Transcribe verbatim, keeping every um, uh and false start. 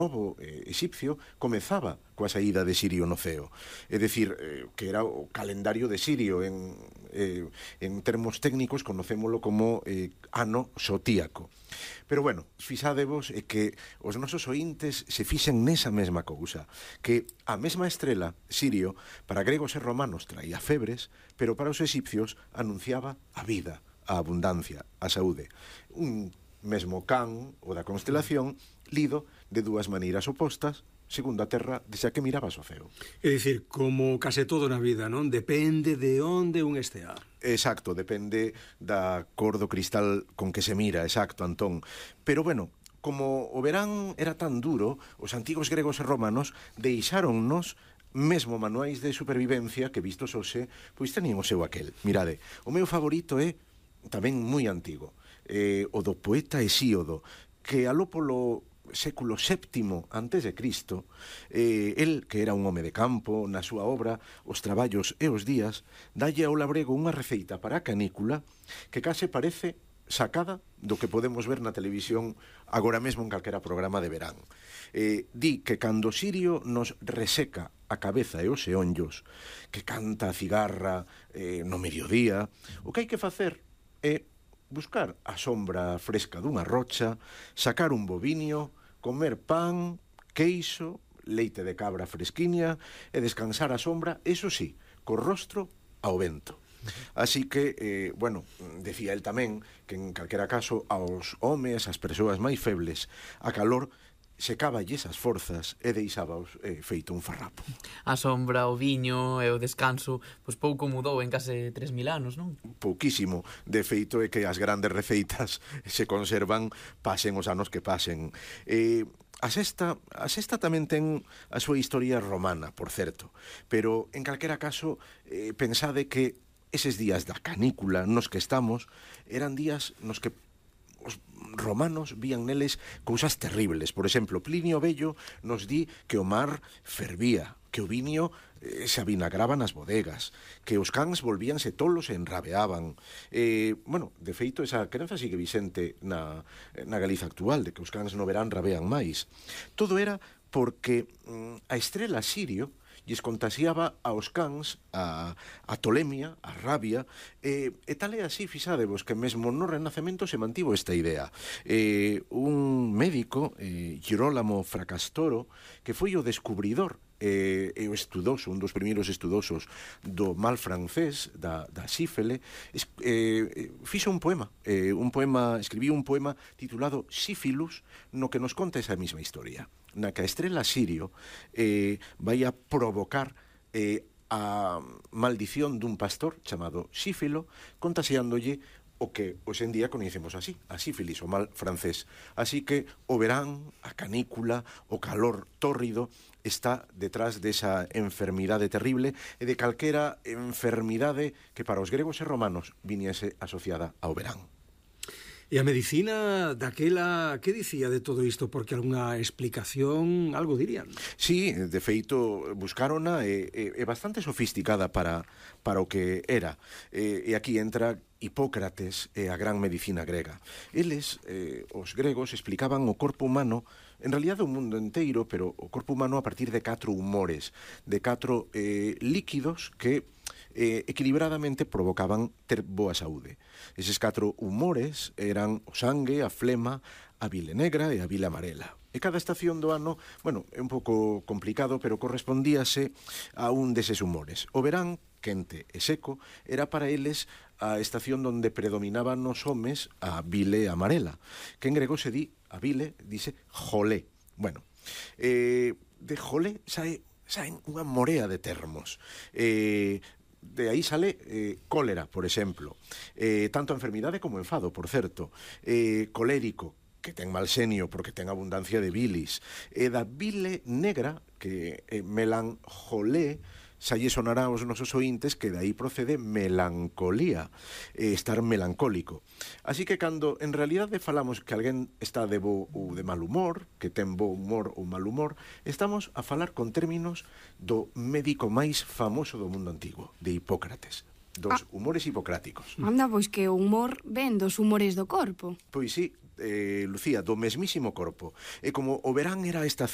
novo eh, exipcio comezaba coa saída de Sirio no ceo. É dicir, eh, que era o calendario de Sirio. En, eh, en termos técnicos conocémolo como eh, ano xotíaco. Pero bueno, fixadevos é que os nosos ointes se fixen nesa mesma cousa, que a mesma estrela, Sirio, para gregos e romanos traía febres, pero para os egipcios anunciaba a vida, a abundancia, a saúde. Un mesmo can, o da constelación, lido de dúas maneiras opostas, segundo a Terra, desde a que mirabas o ceo. É dicir, como case todo na vida, non? Depende de onde un estea. Exacto, depende da cor do cristal con que se mira, exacto, Antón. Pero bueno, como o verán era tan duro, os antigos gregos e romanos deixáronnos mesmo manuais de supervivencia que vistos hoxe, pois tenían o seu aquel. Mirade, o meu favorito é tamén moi antigo, eh, o do poeta Hesíodo, que aló polo século séptimo antes de Cristo, eh, el, que era un home de campo, na súa obra Os traballos e os días, dalle ao labrego unha receita para a canícula que case parece sacada do que podemos ver na televisión agora mesmo en calquera programa de verán. Eh, di que cando Sirio nos reseca a cabeza e os eonllos, que canta a cigarra eh, no mediodía, o que hai que facer é buscar a sombra fresca dunha rocha, sacar un bovinio, comer pan, queixo, leite de cabra fresquiña e descansar a sombra, eso sí, co rostro ao vento. Así que, eh, bueno, decía el tamén que en calquera caso aos homes, as persoas máis febles, a calor secaballes as forzas e deixábaos eh, feito un farrapo. A sombra, o viño e o descanso, pois pouco mudou en case tres mil anos, non? Pouquísimo. De feito é que as grandes receitas se conservan pasen os anos que pasen. Eh, a sexta, a sexta tamén ten a súa historia romana, por certo, pero en calquera caso eh, pensade que eses días da canícula nos que estamos eran días nos que os romanos vían neles cousas terribles. Por exemplo, Plinio Bello nos di que o mar fervía, que o viño eh, se avinagraba nas bodegas, que os cans volvíanse tolos e enrabeaban. Eh, bueno, de feito, esa crenza sigue vicente na, na Galiza actual, de que os cans no verán rabean máis. Todo era porque mm, a estrela Sirio lles contasiaba aos cans a, a tolemia, a rabia, e, e tal é así, fixadevos, que mesmo no Renacemento se mantivo esta idea. Eh, un médico, eh, Girolamo Fracastoro, que foi o descubridor e, e o estudoso, un dos primeiros estudosos do mal francés, da, da sífele, es, eh, fixo un poema, eh, un poema, escribiu un poema titulado Sífilus, no que nos conta esa mesma historia, na que a estrela Sirio eh, vai a provocar eh, a maldición dun pastor chamado Sífilo, contaseándolle o que hoxe en día coñecemos así, a sífilis, o mal francés. Así que o verán, a canícula, o calor tórrido está detrás desa enfermidade terrible e de calquera enfermidade que para os gregos e romanos viniese asociada ao verán. E a medicina daquela, que dicía de todo isto? Porque algunha explicación, algo dirían. Sí, de feito, buscárona e, e, e bastante sofisticada para, para o que era. E, e aquí entra Hipócrates e a gran medicina grega. Eles, eh, os gregos, explicaban o corpo humano, en realidad o mundo enteiro, pero o corpo humano a partir de catro humores, de catro eh, líquidos que eh, equilibradamente provocaban ter boa saúde. Eses catro humores eran o sangue, a flema, a bile negra e a bile amarela. E cada estación do ano, bueno, é un pouco complicado, pero correspondíase a un deses humores. O verán, quente e seco, era para eles a estación donde predominaban nos homes a bile amarela, que en grego se di, a bile, dice jolé. Bueno, eh, de jolé sae, saen unha morea de termos. Eh, de aí sale eh, cólera, por exemplo. Eh, tanto enfermidade como enfado, por certo. Eh, colérico, que ten mal xenio porque ten abundancia de bilis. E da bile negra, que eh, melanjolé, xa lle sonará aos nosos ointes que dai procede melancolía, eh, estar melancólico. Así que cando en realidade falamos que alguén está de bo ou de mal humor, que ten bo humor ou mal humor, estamos a falar con términos do médico máis famoso do mundo antigo, de Hipócrates, dos ah. humores hipocráticos. Anda, pois que o humor ven dos humores do corpo. Pois sí, eh, Lucía, do mesmísimo corpo. E como o verán era a estación